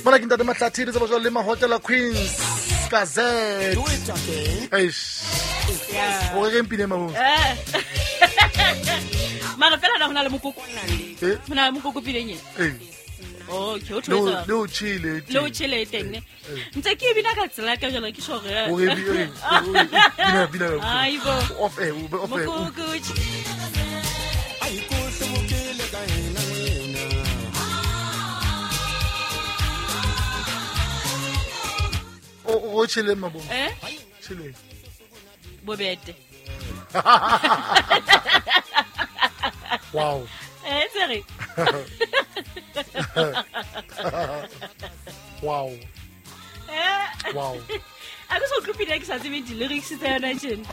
Mona ke ntate Mahlathi re tseba jwalo le Mahotela Queens ka Z. Eish. O re reng pina e mabong? Eh. Mara fela na ho na le mokoko. Eh? Ho na le mokoko pineng e. Eh. Okay, o Le o- tshwetsa. le o tjhele e Le o teng. tjhele e teng ne. Ntse ke e bina ka tsela ka jalo ke sure. O re eh, bina bina. Aibo. Off air, o be off air. Mokoko. O o tjhele mabong. Eh? Tjhele. Bobete. Wow. Eh, tsere. Wow. Eh. Wow. A ke so utlwe pina ke sa tsebe di-lyrics tsa yona tjena.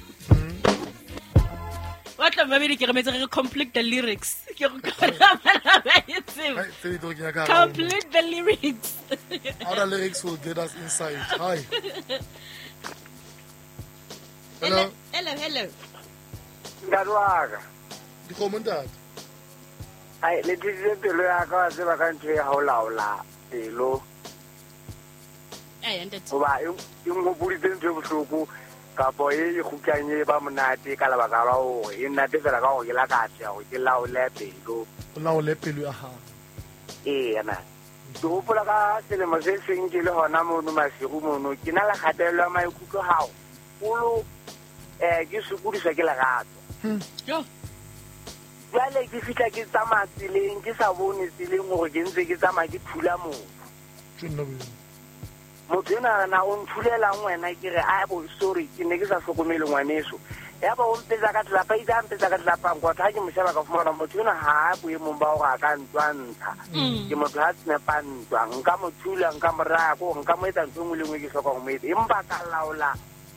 Wa tla mmamedi ke remetse re re complete the lyrics. Ke go kgona bana ba e tseba. Hai, tse di tlo kenya ka hara o. Complete the lyrics. Other lyrics will get us inside. Hi. Hello. Hello, hello. Ntate wa ka. Dikgomo ntate. Ai, le thusitse pelo ya ka wa tseba ka ntho e ha o laola pelo. Ai, ntate. Hoba e e nhopoditse ntho e bohloko kapo e kgutlang e ba monate ka lebaka la hore e nnate fela ka hore ke la ka atleha hore ke laole pelo. O laole pelo ya hao. Eya na. Ke hopola ka selemo se seng ke le hona mono Maseru mono, ke na le kgatello ya maikutlo haholo, ke sokodiswa ke lerato. Jo. Jwale ke fihla ke tsamaya tseleng, ke sa bone tseleng hore ke ntse ke tsamaya ke thula motho. Tjho nna bo. Motho enwa a re na o nthulelang wena, ke re a bo sorry, ke ne ke sa hlokomele ngwaneso. Ya ba o mpetsa ka tlelapa, itse a mpetsa ka tlelapa nkotla, ha ke mo sheba ka fumana motho enwa ha a boemong ba hore a ka ntwa ntsha. Ke motho ha tsepa ntwa, nka mo thula, nka mo raya, ko nka mo etsa ntho e nngwe le nngwe ke hlokang ho mo etsa. Empa ka laola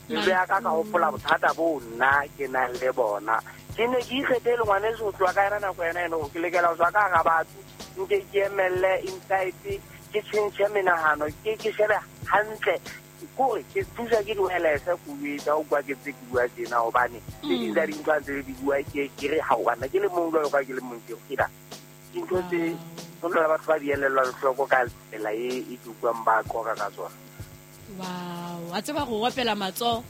pelo ya ka, ka hopola bothata boo nna ke nang le bona. Ke ne ke ikgethele ngwaneso ho tloha ka yona nako yona eno, ke lokela ho tswa ka hara batho, nke ke emelle inside, ke tjhentjhe menahano, ke shebe hantle. Kore ke thuswa ke di-wireless ko etsa o kwa ke tse ke bua tjena, hobane tse ding tsa dintho ha ntse di bua ke re ha o ke le mong jwalo ka ke le mong ke re dintho tse ho na le batho ba di elellwang hloko ka tsela e e ke utlwang ba qoqa ka tsona. Wow, a tseba go opela matsoho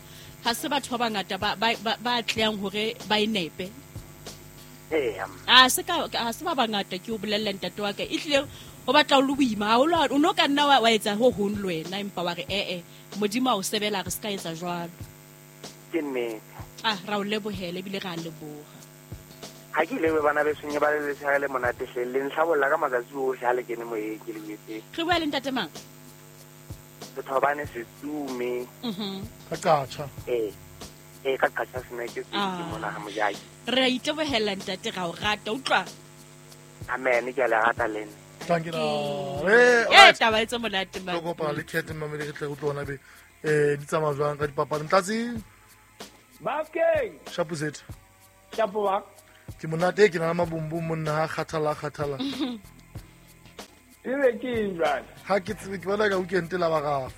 ha se batho ba bangata ba atlehang hore ba e nepe. Eya. A se ka ha se ba bangata ke o bolella ntate wa ka. E hlile ho batla o le boima haholo, o no ka nna wa etsa ho hong le wena, empa wa re eh Modimo a o sebela re se ka etsa jwalo. Ke nnete. Ah, ra o lebohela ebile ra leboha. Ha ke ile bana besong ba le letshehare le monate hle, le ntlhabolla ka matsatsi ohle ha le kene moyeng ke le jwetse. Re bua le ntate mang? Sethobane Setsume. Ka qatjha. Eh. Ka qatjha sena ke se ke mona ha mojaki. Re a itebohela ntate, ra o rata, utlwa. Amen, ke a le rata le nna. Thank you. Eh, taba e tse monate man. Re kopana le Cat mmamedi re tle re utlwe hona be di tsamaya jwang ka dipapadi. Mtlatsi. Bafkeng. Shapo zethu. Shapo ba. Ke monate ke na le mabombong monna ha kgathala kgathala. Ebe ke eng jwale? Ha ke tsebe ke bona ka weekend la ba rafa.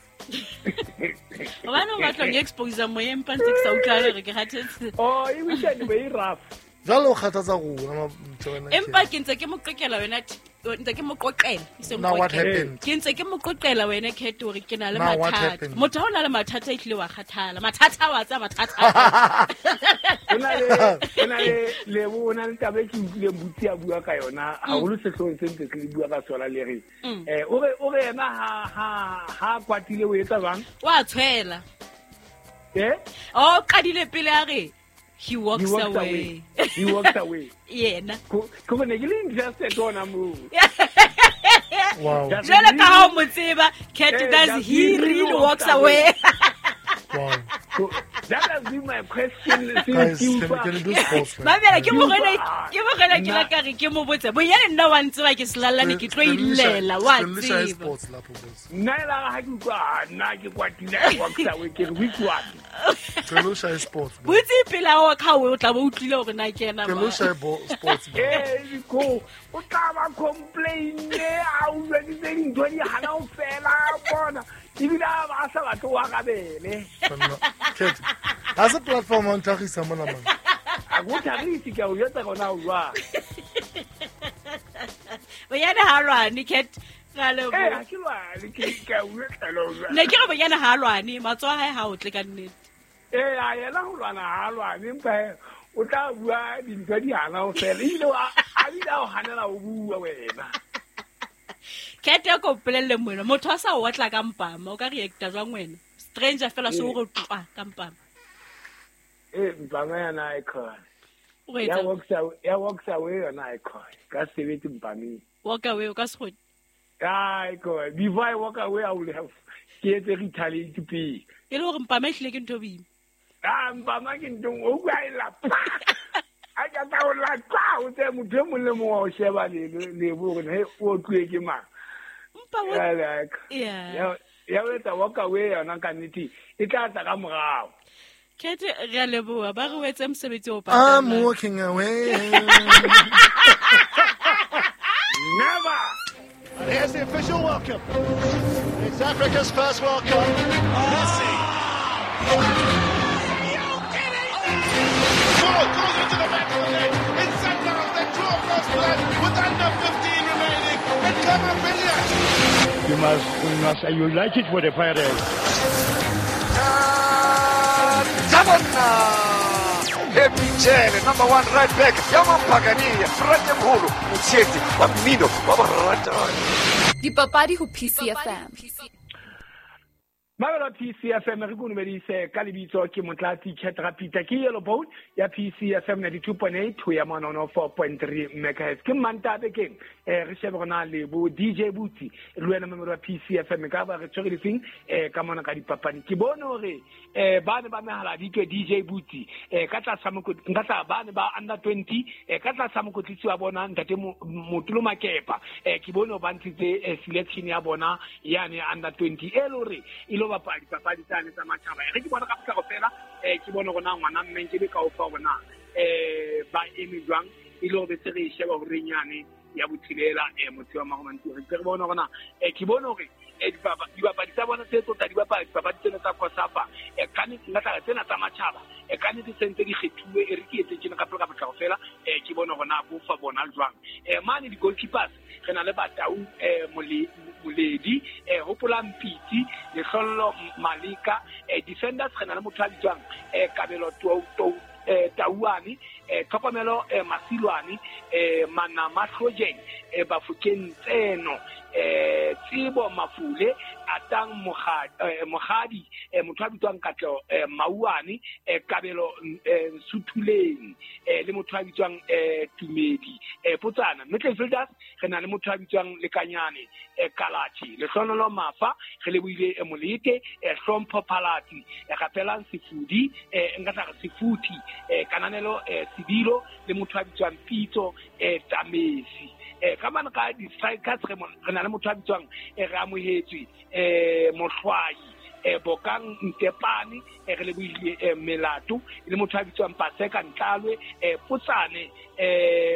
Hobane o batla ho expose moyeng empa ntse ke sa utlwa hore ke kgathetse. Oh, e weekend be e rough. Jwale o kgathatsa rona ma Empa ke ntse ke mo qoqela wena, ntse ke mo qoqela, e seng Now what qoqela. happened? Ke ntse ke mo qoqela wena Cat hore ke na le Now what mathata. happened? Motho ha o na le mathata e hlile wa kgathala. Mathata wa tsaya mathata. Ho na le Lebo, ho na le taba e ke utlwileng Butsi a bua ka yona haholo sehloohong se ntse ke bua ka sona le re. O re yena ha kwatile o etsa jwang? Wa tshwela. Eh? Oh, qadile pele a re he walks He walks away. away. He walks away. Yena. Ko ne ke le interested hona moo. Wow. Jwale ka ha o mo tseba, Cat, does he really walks away? Wow. That has been my question since Guys, you can you do sports, man? Mamela, ke morena ke la ka re ke mo botse. Bonyane nna wa ntseba ke selalane ke tlo illela, wa tseba. Sports lapho boss. Nna e la ha ke utlwa, nna ke kwatile, I walks away, ke re which one? Ke lo shaye sports. Botse pele ha o ka o tla bo utlwile hore na ke ena Ke lo shaye sports. Eh, ko o tla ba complain a o jweditse dintho di hana ho fela bona. Ebile a ba sa batle ho arabele. Cat, ha se platform ya ho ntlhagisa mona man. A go tlhagise ke a o jwetsa gona o jwang. Bonyane ha lwane Cat. Ha ke lwane ke ka bua tlalo. Ne ke re bonyana ha lwane, matsoho a hae ha o tle ka nnete. A yena ho lwana ha lwane, empa o tla bua dintho di hana ho fela. Ebile a bile a o hanela ho bua wena. Kete ko mpolelle moena, motho a sa o otla ka mpama, o ka reacta jwang wena? Stranger fela so o re tlwa ka mpama. Mpama yona e khona. Ya walks away yona e khona. Ka sebetse mpameng. Walk away o ka se kgone. Ai khona. Before I walk away I will have ke etse retaliate pele. E le hore mpama e hlile ke ntho boima. Mpama ke ntho o bua e lapa. A ka tla o lata o tse motho e mong le mong wa o sheba le bo hore he o tluwe ke mang. Ya o etsa walk away yona ka nnete e tla tla ka morao. Kete re a leboha ba re o etse mosebetsi o patalang. I'm walking away. Never. And here's the official welcome. It's Africa's first World Cup. Messi. Ball goes into the back of the net. It's Sundowns that draw first blood with under 15 remaining. And Kamavillian. You must unite it with the Pirates. Happy Jele, number 1 right back. Yamampagania, Ratemholo, Motsheti, wa mmino wa boratani. Dipapadi ho PCFM. Mabelo PCFM re konomedise ka lebitso ke Motlatsi Chetra Peter ke Yellow Bone ya PCFM 92.8 ho ya 104.3 megahertz. Ke Mantabe keng re shebe rona le bo DJ Butsi le wena memero wa PCFM ka ba re tshwere difeng ka mona ka dipapadi. Ke bone hore ba ne ba mehala ditwe DJ Butsi ka tlasa nka tla ba ne ba under 20 ka tlasa mokotlisi wa bona ntate Motolo Makepa ke bone ba ntshitse selection ya bona yane under 20 e le hore e lo bapadi papadi tsane tsa matjhaba. Re ke bona ka potlako fela ke bone rona ngwana mmeng ke be ka ofa rona ba eme jwang e le hore se re sheba hore nyane ya botshilela motho wa Maromanti re bona rona ke bone hore dibapadi tsa bona tse tsotsa dibapadi papadi tsena tsa Kosafa ka nnete nka tla tsena tsa matjhaba ka nnete sentse di kgethuwe e re ke etse tjena ka pele ka potlako fela ke bone rona bo fa bona jwang mane di goalkeepers re na le Batau Moledi Hopola Mpiti Lehlollo Malika defenders re na le motho a bitswang Kabelo Tauane Tlhokomelo Masilwane Manama Hlojeng Bafokeng Tseno Tsebo Mafule Atang Mogadi motho a bitswang Katleho Mauane Kabelo Suthuleng le motho a bitswang Tumedi Potsana. Midfielders re na le motho a bitswang Lekanyane Kalachi Lehlonolo Mafa re lebohile Molete Hlompho Phalati Rapelang Sefudi nka tla re Sefuthi Kananelo Sebilo le motho a bitswang Pitso Tamesi. Ka mane ka di-strikers re na le motho a bitswang re amohetswe Mohlwayi Bokang Ntepane re lebohile Melato le motho a bitswang Paseka Ntlalwe Potsane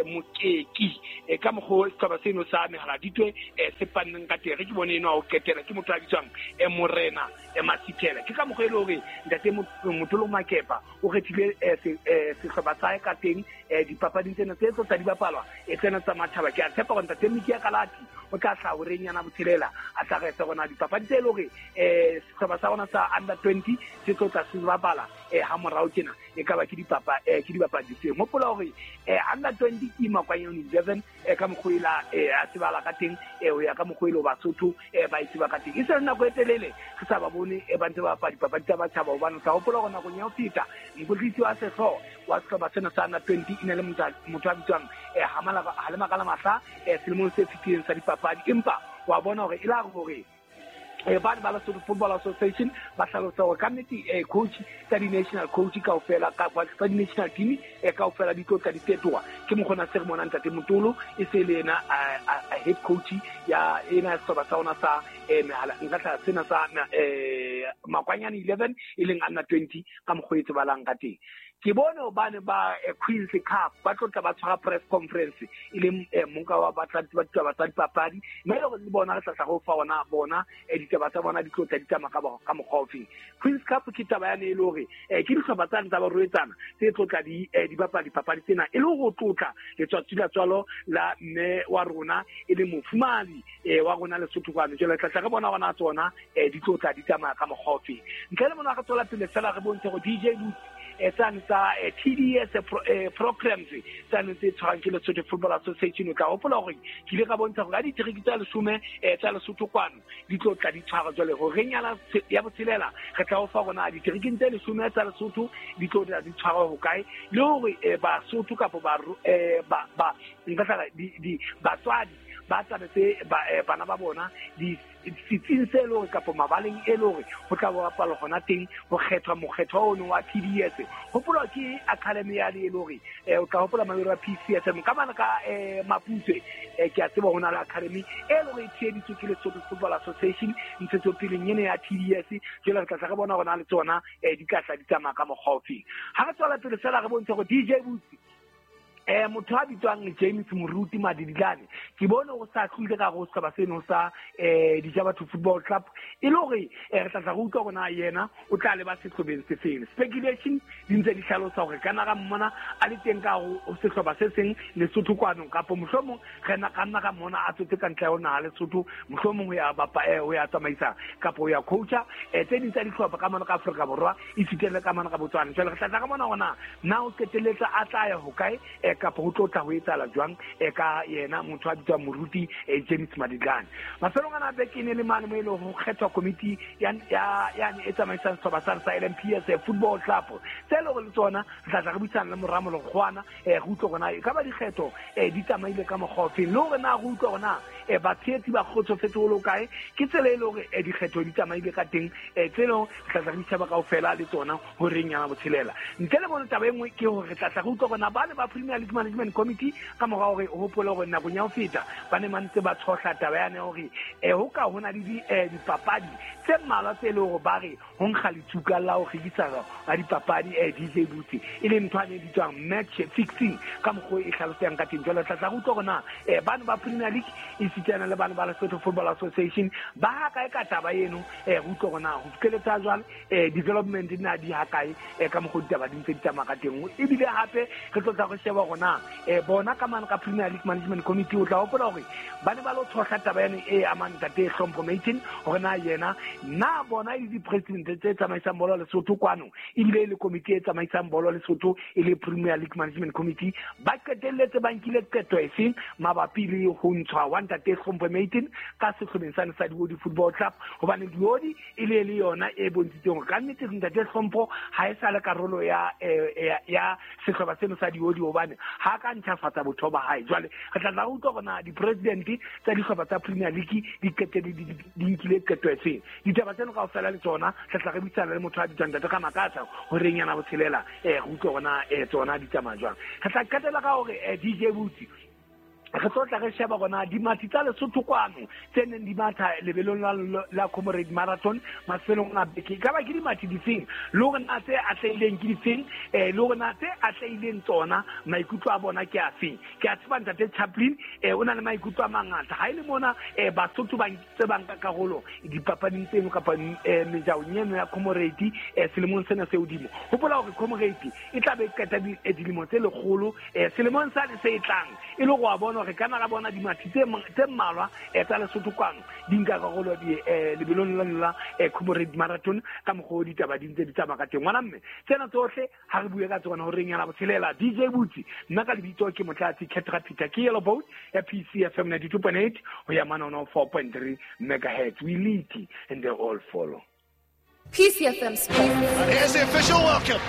Mokeki ka mokgwa setlhopha seno sa Mehaladitwe se panneng ka teng. Re ke bone eno a o qetela ke motho a bitswang Morena Masithela. Ke ka mokgwa e le hore ntate Motolo Makepa o kgethile sehlopha sa hae ka teng dipapading tsena tse tsa di bapalwa tsena tsa matjhaba. Ke a tshepa hore ntate Mikia Kalati o tla hlaha horeng yana botshelela a tla re se rona dipapadi tse le hore sehlopha sa rona sa under 20 se tlo tla se bapala ha morao tjena e ka ba ke dipapadi tse. Hopola hore under 20 ke Makwanyane 11 ka mokgwa ela a tsebala ka teng ho ya ka mokgwa elo Basotho ba e tseba ka teng. E se nako e telele re sa ba bone ba ntse ba bapala dipapadi tsa batjhaba hobane o tla hopola hore nakong ya ho feta mokotlisi wa sehlooho wa sehlopha sena sa under 20 e ne le motho a bitswang Halemakala Mahla selemong se fetileng sa dipapadi. Empa wa bona hore e la hore ba ba Lesotho Football Association ba hlalosa hore ka nnete coach tsa di-national coach kaofela tsa di-national team kaofela di tlo tla di fetoha. Ke mokgona se re monang ntate Motolo e se le ena head coach ya ena sehlopha sa rona sa nka tla sena sa Makwanyane 11 e leng under 20 ka mokgwa e tsebalang ka teng. Ke bone hobane ba Queen's Cup ba tlo tla ba tshwara press conference e leng monka wa batlatsi ba ditaba tsa dipapadi, mme le bona re tla tla go fa ona bona ditaba tsa bona di tlo tla di tsamaya ka mokgwa ofeng. Queen's Cup ke taba yane e le hore ke dihlopha tsane tsa barwetsana tse tlo tla di bapala dipapadi tsena e le go tlotla letsatsi la tswalo la mme wa rona e le mofumadi wa rona Lesotho kwano. Jwale tla tla re bona gona tsona di tlo tla di tsamaya ka mokgwa ofeng. Ntle le mona re tswela pele fela re bontshe go DJ Boots tsane tsa TDS programs tsane tse tshwarang ke Lesotho Football Association. O tla hopola hore ke ile ka bontsha hore ka diteriki tsa 10 tsa Lesotho kwano di tlo tla di tshwara. Jwale ho renyana ya botshelela re tla o fa rona diteriking tse 10 tsa Lesotho di tlo tla di tshwara ho kae, le hore Basotho kapa ba ba nka tla di batswadi ba tsabetse bana ba bona di setsing se le hore kapa mabaleng e le hore ho tla bapala hona teng ho kgethwa mokgethwa ono wa TDS. Hopola ke academy ya le hore o tla hopola mabero a PCSM ka bana ka Maputswe ke a tseba hona le academy e le hore e tsheheditswe ke Lesotho Football Association ntshetsopeleng ena ya TDS. Jwale re tla tla re bona hona le tsona di tla tla di tsamaya ka mokgwa ofeng. Ha re tswela pele fela re bontshe hore DJ Boots motho a bitswang James Moruti Madidilane ke bone o sa tlile ka go sehlopha seno sa Dijabatho Football Club e le hore re tla tla re utlwa hore na yena o tla leba sehlobeng se feng. Speculation di ntse di hlalosa hore kana ra mmona a le teng ka ho sehlopha se seng Lesotho kwano, kapa mohlomong re na ka nna ka mmona a tswetse ka ntle ho naha Lesotho, mohlomong ho ya bapa ho ya tsamaisa kapa ho ya coacha tse ding tsa dihlopha ka mona ka Afrika Borwa e fitele ka mona ka Botswana. Jwale re tla tla ka mona hore na o qetelletsa a tla ya hokae kapa ho tlo tla ho etsahala jwang ka yena motho a bitswang Moruti James Madidlane. Mafelong ana beke ne le mane mo e leng ho kgethwa komiti ya e tsamaisang sehlopha sa LMPS Football Club tse le hore le tsona re tla tla re buisana le Moramolo Kgwana re utlwe hore na e ka ba dikgetho di tsamaile ka mokgwa ofeng, le hore na re utlwe hore na batshehetsi ba kgotsofetse ho le kae ke tsela e le hore dikgetho di tsamaile ka teng tse leng re tla tla re ditjhaba kaofela le tsona ho reng yana botshelela. Ntle le bone taba e nngwe ke hore re tla tla re utlwe hore na ba ne ba Premier League Management Committee ka mora hore o hopole hore nakong ya ho feta ba ne ba ntse ba tshohla taba yane hore ho ka hona le dipapadi tse mmalwa tse leng hore ba re ho nkga letsuka la ho rekisa ga dipapadi DJ Boots e leng ntho e bitswang match fixing ka mokgwa e hlalosang ka teng. Jwale tla tla re utlwa hore na bana ba Premier League e sitana le bana ba Lesotho Football Association ba ha kae ka taba eno, re utlwe hore na ho fihlelletsa jwale development na di ha kae ka mokgwa ditaba di ntse di tsamaya ka teng. Ebile hape re tlo tla re sheba hore na bona ka mane ka Premier League Management Committee o tla hopola hore ba ne ba lo tshohla taba yane e amang ntate Hlompho Maiten hore na yena na bona e le di-president tse tsamaisang bolo Lesotho kwano ebile e le komiti e tsamaisang bolo Lesotho e le Premier League Management Committee ba qetelletse ba nkile qeto efeng mabapi le ho ntshwa wa ntate Hlompho Maiten ka sehlobeng sane sa Diodi Football Club, hobane Diodi e le le yona e bontshitseng hore ka nnete ntate Hlompho ha e sa le karolo ya sehlopha seno sa Diodi hobane ha ka ntjhafatsa botho ba hae. Jwale re tla tla utlwa hore na di-president tsa dihlopha tsa Premier League di qetelle di nkile qeto efeng. Ditaba tseno kaofela le tsona re tla re buisana le motho a bitswang ntate ka Makatsa hore nyana botshelela re utlwe hore na tsona di tsamaya jwang. Re tla qetela ka hore DJ Boots re tlo tla re sheba hore dimathi tsa Lesotho kwano tse neng di matha lebelong la Comrade Marathon mafelong a beke ka ba ke dimathi difeng, le hore na tse atlehileng ke difeng, le hore na tse atlehileng tsona maikutlo a bona ke afeng. Ke a tseba ntate Chaplin o na le maikutlo a mangata ha e le mona Basotho ba ntse ba nka karolo dipapading tseno kapa mejaong eno ya Comrade selemong sena se hodimo. Hopola hore Comrade e tla be e qeta dilemo tse lekgolo selemong sane se e tlang e le go a bona re kana ra bona dimathi tse mmalwa tsa Lesotho kwano di nka karolo lebelong la Comrade Marathon ka mokgwa o ditaba di ntse di tsamaya ka teng. Ngwana mme tsena tsohle ha re bue ka tsona hore nyana botshelela. DJ Boots nna ka lebitso ke Motlatsi Ketra Peter ke Yellow Boat ya PCFM 92.8 ho ya mane 104.3 megahertz. We lead and they all follow. PCFM Sports. And here's the official welcome.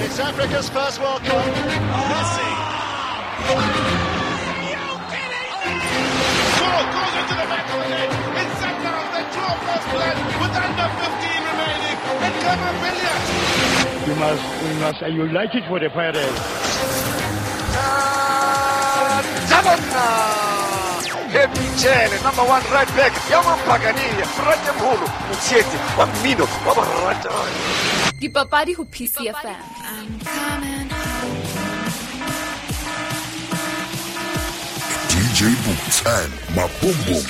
It's Africa's first World Cup. Messi. Goes into the back of the net. It's Sundowns that draw first blood with under 15 remaining. And Khama Billiat. You must, you like it for the Pirates. Happy Jele, number 1 right back ya Mapakania, Ratemholo, motshehetsi wa mmino wa boratani. Dipapadi ho PCFM. DJ Boots and Maboom Boom.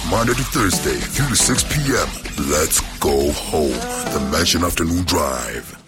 Monday to Thursday, 3 to 6 p.m. Let's go home. The Mansion Afternoon Drive.